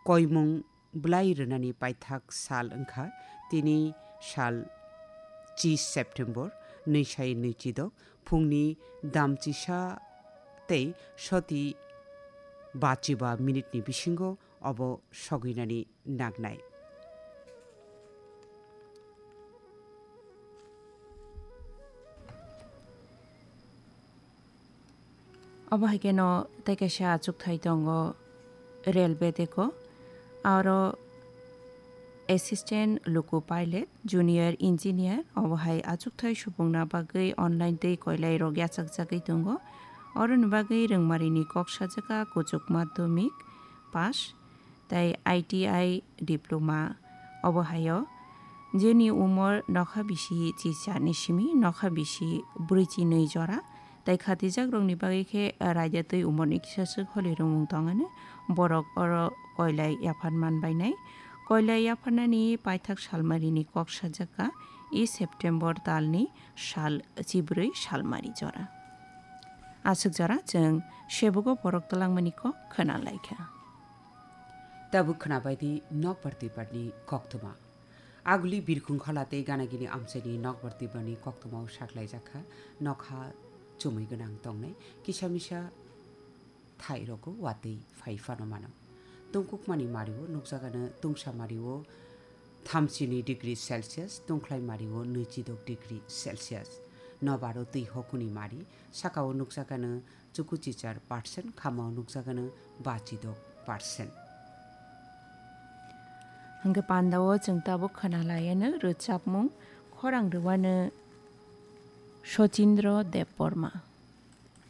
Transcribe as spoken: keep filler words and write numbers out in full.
koimung bwlai rwnani paithak sal wngkha. Tini sal chi September, nwi sai nwi chidok, phungni damchisa tei soti bachiba minute ni bisingo obo sogwinani nangnai. Obo hai kheno tei kaisa achukthai tongo railway deko. Aro assistant loco pilot, junior engineer, obo hai achukthai subungna bagwi online tei koilai rok yachakjagwi tongo. Oroni bagwi rwngmarini kok sajaka kuchuk madhyamik pass tei I T I diploma. Obo haio, jeni umor nokha bisi chi charni simi nokha bisi brwi chi nwi jora, tei khatijakrokni bagwi khe raida twi umorni kisa swk holi rwngmung tongani borok oro koilai yaphan man bainai. Koilai yapharnani paithak salmarini kok sajaka, e September talni sal chibrwi salmari jora. Aswk jora chwng sebugo borok twlangmani kok khwna laikha. Tabuk khwnabaidi nokbar twibarni koktwma. Aguli birkhung khola tei ganagini amchaini nokbar twibarni koktwmao saklaijakha, nokha chumui gwnang tongnai, kisa misa thai rogo watwi phai phano mano. Tungkukmani mario nukjagano tungsa mario thamchini degree Celsius, tungkhlai mario nwichidok degree Celsius. Nobaro twi hokuni mari, sakao nukjagano chukuchichar percent, khamao nukjagano bachidok percent. Hwnkhe pandao chwng tabuk khwna laiano rwchapmung khorang rwano Sochindro Debbarma.